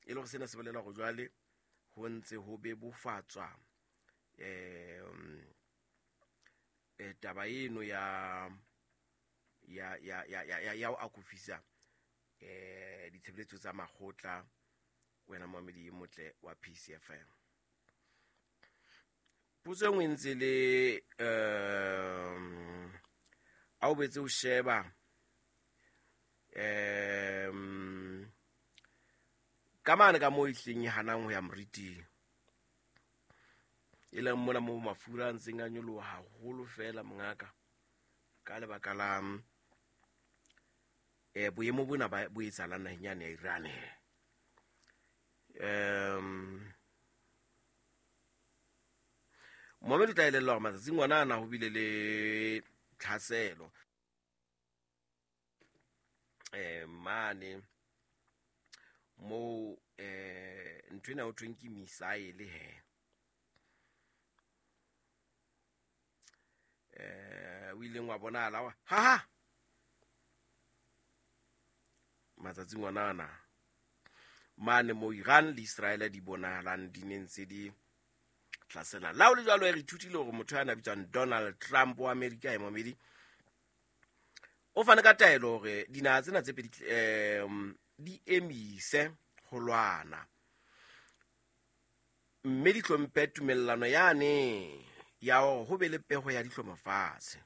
E le gore sena se bolela gore jwale ho ntse ho bebofatswa taba eno ya ya ya ya ya ya ho akofisa ditshebeletso tsa makgotla, wena momamedi e motle wa PCFM. Potso e nngwe ntse le a o betse o sheba ka mane ka moo e hleng e hanang ho ya moriting, e leng mona moo mafura a ntseng a nyoloha haholo fela mongaka, ka lebaka la boemo bona bo etsahalang naheng yane ya Iran. Mohammed o tla elellwa hore matsatsing ona ana ho bile le tlhaselo mane moo ntho ena ho thweng ke missile he. O ileng wa bonahala wa ha ha matsatsing ona ana mane mo Iran le Israel di bonahalang di ne ntse di tlasela. La ho le jwalo, re ithutile hore motho ya na bitswang Donald Trump wa Amerika e momedi o fane ka taelo hore dinaha tsena tse pedi di emise ho lwana, mme di hlomphe tumellano yane ya hore ho be le peho ya dihlomo fatshe.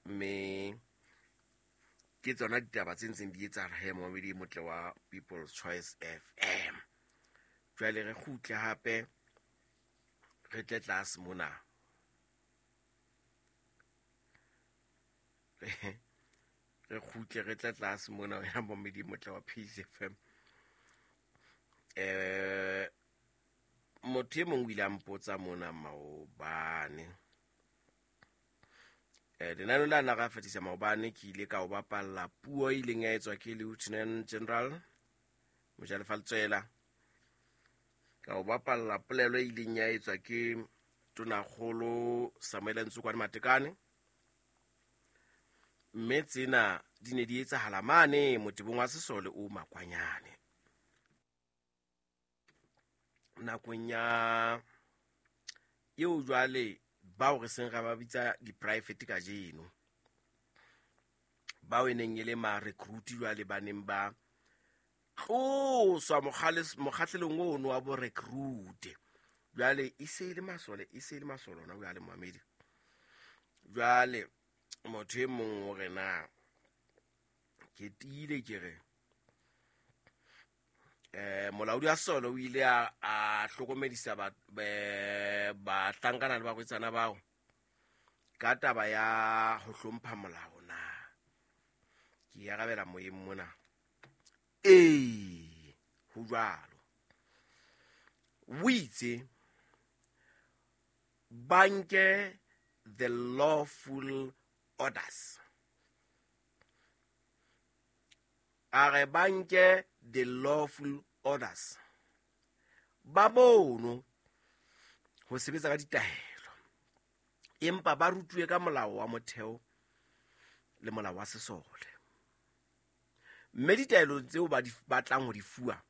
Mme ke tsona ditaba tse ntseng di etsahala he momedi motle wa People's Choice FM. Jwale re kgutle hape re tle tlase mona. Re kgutle re tle tlase mona wena momedi motle wa PCFM. Motho e mong o ile a mpotsa mona maobane. Lenaneo la na ra fetisa maobane, ke ile ka o bapalla puo e ileng ya etswa ke Lieutenant General Mojalefa Letswela. Ka o bapalla polelo e ileng ya etswa ke Tonakgolo Samuel Ntsokwane Matekane. Mme tsena di ne di etsahala mane motebong wa sesole o Makwanyane. Nakong ya eo jwale bao re seng ra ba bitsa di-private kajeno, bao e neng e le ma-recruit jwale ba neng ba tloswa mokgahlelong ono wa bo-recruit. Jwale e se e le masole, e se e le masole ona jwale momamedi. Jwale motho e mong o re na ke tiile ke re molaodi wa sesole o ile a hlokomedisa bahlankana le barwetsana bao ka taba ya ho hlompha molao. Na ke arabela moyeng mona? Ee, ho jwalo. O itse ba nke the lawful orders, a re ba nke the lawful orders ba mono ho sebetsa ka ditaelo, empa ba rutuwe ka molao wa motheo le molao wa sesole. Mme ditaelo tseo ba di batlang ho di fuwa,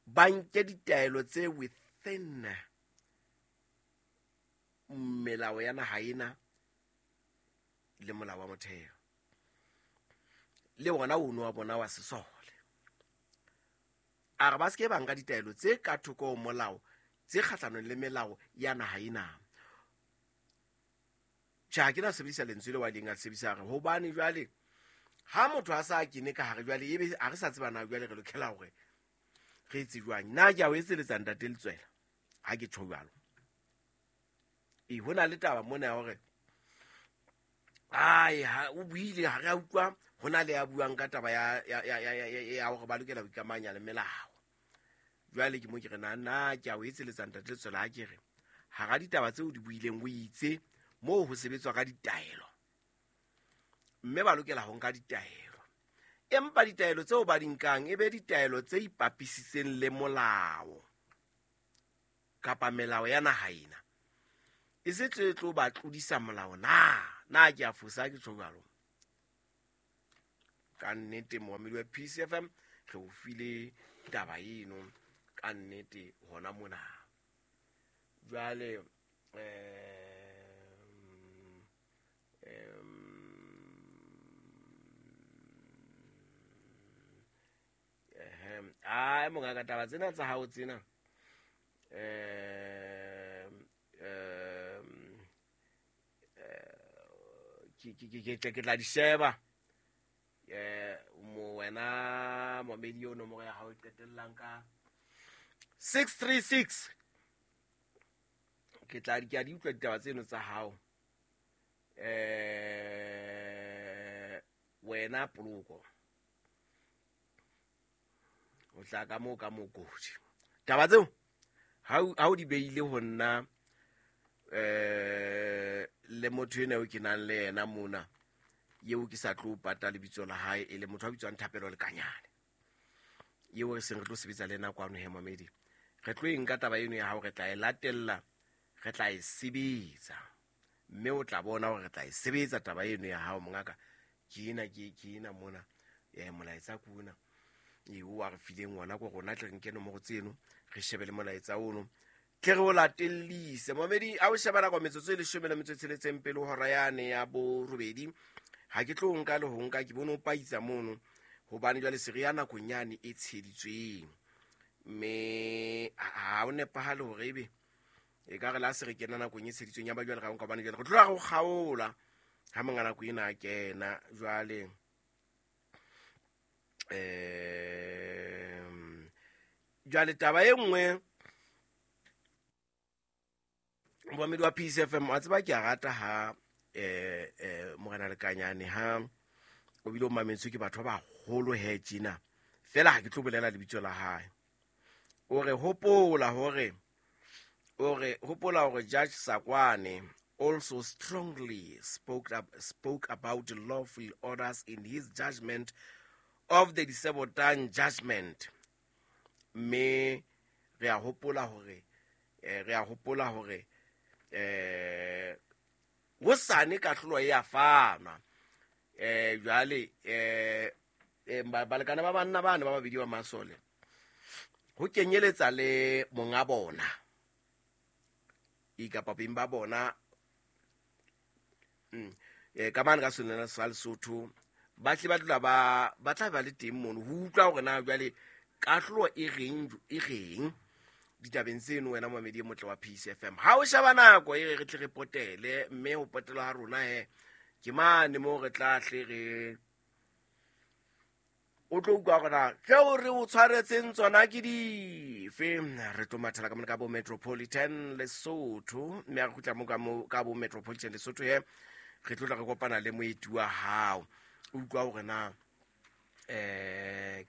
ba nke ditaelo tse within melao ya naha ena le molao wa motheo le ona ono wa bona wa sesole. A re ba se ke ba nka ditaelo tse ka thoko ho molao, tse kgahlanong le melao ya naha ena. Tjhe, ha ke na sebedisa lentswe leo a ileng a sebedisa, re hobane jwale ha motho a sa kene ka hare jwale ebe ha re sa tseba na jwale re lokela hore re etse jwang. Nna ke a o etseletsa ntate Letswela ha ke tjho jwalo. E ho na le taba mona ya hore ai ha o buile ha re a utlwa ho na le ya buang ka taba ya ya ya ya ya ya hore ba lokela ho ikamanya le melao. Jwale ke mo ke re na nna ke a o etseletsa ntate Letswela ha ke re hara ditaba tseo di buileng o itse moo ho sebetswa ka ditaelo, mme ba lokela ho nka ditaelo, empa ditaelo tseo ba di nkang e be ditaelo tse ipapisitseng le molao kapa melao ya naha ena, e se tse tlo ba tlodisa molao. Na na ke a fosa ke tjho jwalo? Ka nnete momamedi wa Peace FM, re o file taba eno ka nnete hona mona. Jwale ai mongaka, taba tsena tsa hao tsena ke tla di sheba. Mo wena momedi eo nomoro ya hao e qetellang ka 636, ke tla di utlwa ditaba tseno tsa hao. Wena Poloko o tla ka moo ka mokodi. Taba tseo ha o di beile ho nna le motho ena eo ke nang le yena mona, eo ke sa tlo pata lebitso la hae, e le motho a bitswang Thapelo Lekanyane, eo re seng re tlo sebetsa le yena kwano he momedi. Re tlo e nka taba eno ya hao, re tla e latella, re tla e sebetsa, mme o tla bona hore re tla e sebetsa taba eno ya hao mongaka. Ke ena mona molaetsa ke ona eo a re fileng ona, ko rona tle re nke nomoro tseno, re shebe le molaetsa ono, tle re o latellise. Momedi, a o sheba nako metsotso e 16 pele hora yane ya 8, ha ke tlo nka le ho nka, ke bone o paitsa mono, hobane jwale se re ya nakong yane e tsheditsweng, mme ha o nepahale hore ebe e ka re la se re kena nakong e tsheditsweng ya ba jwale ra nka, hobane jwale re tloha re o kgaola ha monga nako ena a kena. Jwale jwale taba e nngwe, momedi wa Peace FM, wa tseba ke a rata ha Morena Lekanyane ha o bile o mametswe ke batho ba baholo he tjena, fela ha ke tlo bolela lebitso la hae. O re hopola hore Judge Sakwane also strongly spoke about lawful orders in his judgment of the Disebotan judgment. Mme re a hopola hore hosane kahlolo e a fanwa. Jwale balekane ba banna bane ba babedi ba masole, ho kenyeletsa le monga bona e kapa beng ba bona, ka mane ka sonela sa Lesotho, ba tle ba dula ba tla ba le teng mono ho utlwa hore na jwale kahlolo e reng ditabeng tseno. Wena momedi e motle wa Peace FM, ha o sheba nako e re tle re potele, mme ho potela ha rona he ke mane mo re tla hle re o tlo utlwa hore na tseo re o tshwaretseng tsona ke dife. Re tlo mathela ka mona ka bo Metropolitan Lesotho, mme re kgutla mo ka bo Metropolitan Lesotho he re tlo tla re kopana le moeti wa hao, o utlwa hore na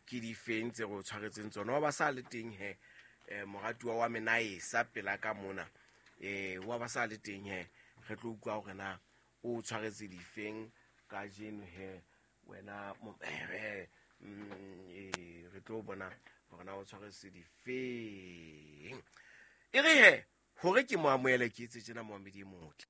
ke difeng tse re o tshwaretseng tsona. Wa ba sa le teng he moratuwa wa Menaesa pela ka mona, wa ba sa le teng he, re tlo utlwa hore na o tshwaretse difeng kajeno he wena. Re tlo bona hore na o tshwaretse difeng. E re he hore ke mo amohele ke etse tjena momedi e motle.